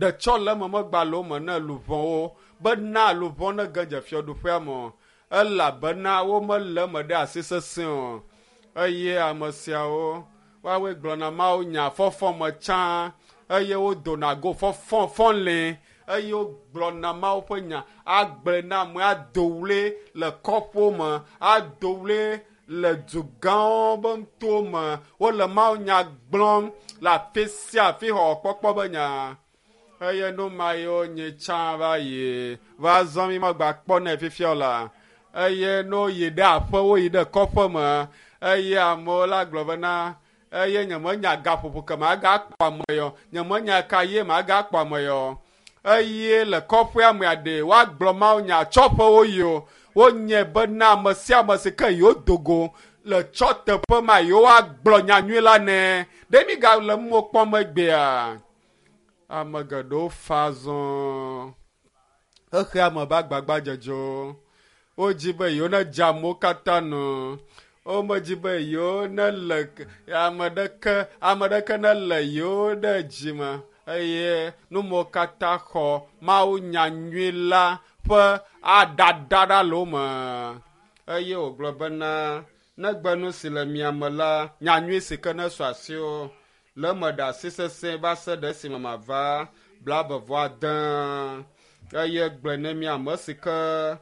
Ɖetsɔleme megba le wo me ne luʋɔwo bena luʋɔ ne ge dze fiaɖuƒea me o elabena womele eme ɖe asi sesẽ o. Eye ame siawo woawoe gblɔna Mawu nya fɔfɔ me tsã eye wodona go fɔfɔ fɔlĩ eye wogblɔna Mawu ƒe nya agblɔe na ame ado ɣli le kɔƒewo me ado ɣli le dugãwo be ŋutowo me. Wole Mawu nya gblɔm le afi sia afi xɔxɔkpɔkpɔ be nya. Eye nu ma yiwo nye tsã va yi va zɔ mi megba kpɔnɛ fifia o la. Eye ne woyi ɖe aƒewo yi ɖe kɔƒe me eye amewo la gblɔ bena eye nyemenya gaƒoƒo ke magakpɔ ame yɔ, nyemenya ka ye magakpɔ ame yɔ. Eye le kɔƒea mea ɖe woagblɔ Mawu nya tsɔƒewo yi o. Wonye bena ame sia ame si ke yewo do go le tsɔ teƒe ma yewoagblɔ nyanyui la nɛ. Ɖe mi gale mo kpɔm egbea? Ame geɖewo fa zɔ. Xexea me be agbagbadzedzewo. Wodzi be yewo ne dze amewo katã nu. Womedzi be yewo ne le ame ɖeke ame ɖeke ne le yewo ɖe dzime eye numewo katã xɔ Mawu nyanyui la ƒe aɖaɖa ɖa le wo me. Eye wògblɔ bena negbe nu si le mia me la, nyanyui si ke ne su asiwò le eme ɖe asi sesẽ va se ɖe esime mava 29. Eye gblɔe ne mi ame si ke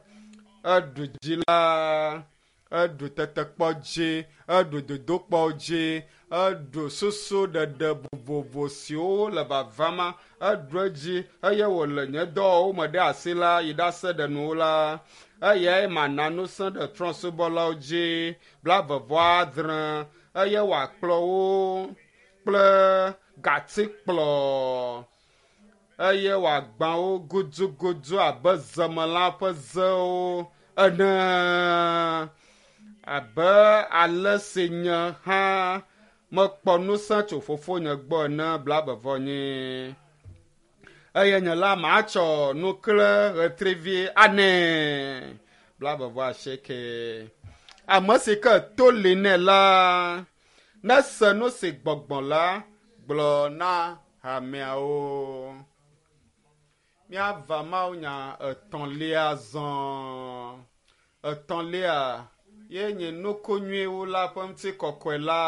eɖu dzi la, eɖu tetekpɔ dzi, eɖu dodokpɔ dzi, eɖu susu ɖeɖe vovovo siwo le vavama, eɖu edzi eye wòle nye dɔwɔwɔ me ɖe asi la yi ɖase ɖe nuwo la. Eyae mana ŋusẽ ɖe trɔ̃subɔlawo dzi 96 eye wòakplɔ wo kple gatikplɔ eye wòagbã wo gudugudu abe zemelã ƒe zewo ene. Abe ale si nye hã mekpɔ ŋusẽ tso fofonye gbɔ ene 49. Eye nye la matsɔ nukle ɣetrivi anɛ 98. Ame si ke to li nɛ la nese nu si gbɔgbɔ la gblɔ na hameawo. Míava Mawu nya etɔ̃lia zɔ. Etɔ̃lia ye nye nuku nyuiwo la ƒe ŋutikɔkɔe la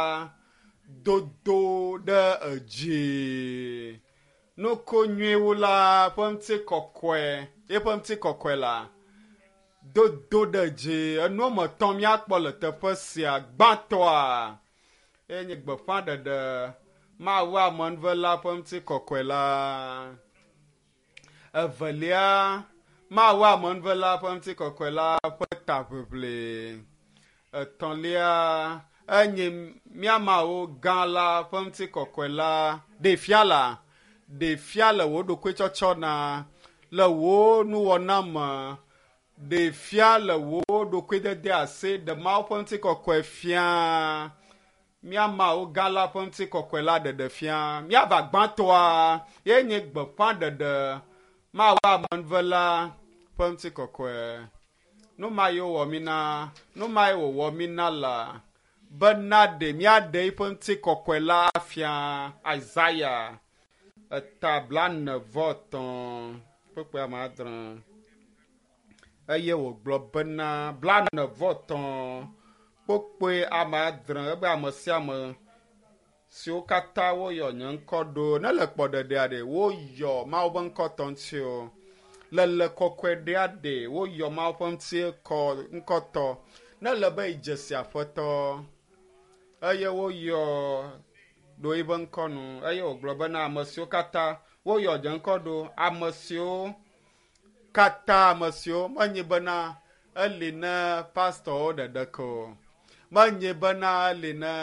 dodo ɖe edzi. Nuku nyuiwo la ƒe ŋutikɔkɔe, eƒe ŋutikɔkɔe la dodo ɖe edzi. Enu woame etɔ̃ míakpɔ le teƒe sia. Gbãtɔa ye nye gbeƒãɖeɖe Mawu amenuvela ƒe ŋutikɔkɔe la. Evelia, Mawu amenuvela ƒe ŋutikɔkɔe la ƒe taʋiʋli. Etɔ̃lia, enye mía Mawu gã la ƒe ŋutikɔkɔe la. Ɖe fia la, ɖe fia le wò ɖokuitsɔtsɔ na, le wò nuwɔna me. Ɖe fia le wò ɖokuidede asi ɖe Mawu ƒe ŋutikɔkɔe fia. Mía Mawu gã la ƒe ŋutikɔkɔe la ɖeɖe fia. Míava gbãtɔa ye nye gbeƒãɖeɖe Mawu amenuvela ƒe ŋutikɔkɔe. Nu ma ye wowɔ mí na, nu ma ye wòwɔ mí na la bena ɖe míaɖe eƒe ŋutikɔkɔe la afia. Isaya eta 43 kpukpui 6. Eye wògblɔ bena 43 kpukpui 6 ebe ame sia ame siwo katã woyɔ nye ŋkɔ ɖo ne le kpɔɖeɖea ɖe woyɔ Mawu ƒe ŋkɔ tɔ ŋuti o. Le le kɔkɔe ɖea ɖe woyɔ Mawu ƒe ŋuti kɔ ŋkɔ tɔ ne le be idze si aƒetɔ eye woyɔ ɖo eƒe ŋkɔ nu eye wògblɔ bena ame siwo katã woyɔ nye ŋkɔ ɖo ame siwo katã ame siwo menye bena eli ne pastɔwo ɖeɖe ko o. Menye bena eli ne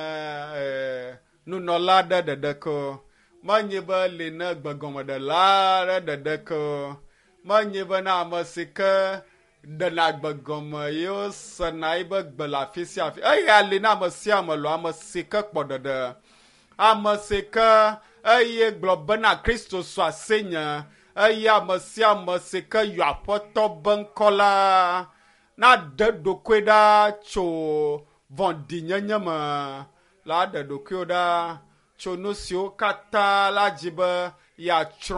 nunɔla aɖe ɖeɖe ko o. Menye be eli ne gbegɔmeɖela aɖe ɖeɖe ko o. Menye bena ame si ke ɖena gbegɔme ye wosena eƒe gbe le afi sia afi. Eya li na ame sia ame lɔ ame si ke kpɔ ɖeɖe. Ame si ke eye gblɔ bena Kristo su asinye eye ame sia ame si ke yɔ aƒetɔ be ŋkɔ la naɖe ɖokui ɖa tso vɔ̃ɖinyenye me la ɖe ɖokuiwo ɖa tso nu siwo katã la dzi be yeatsrɔ̃.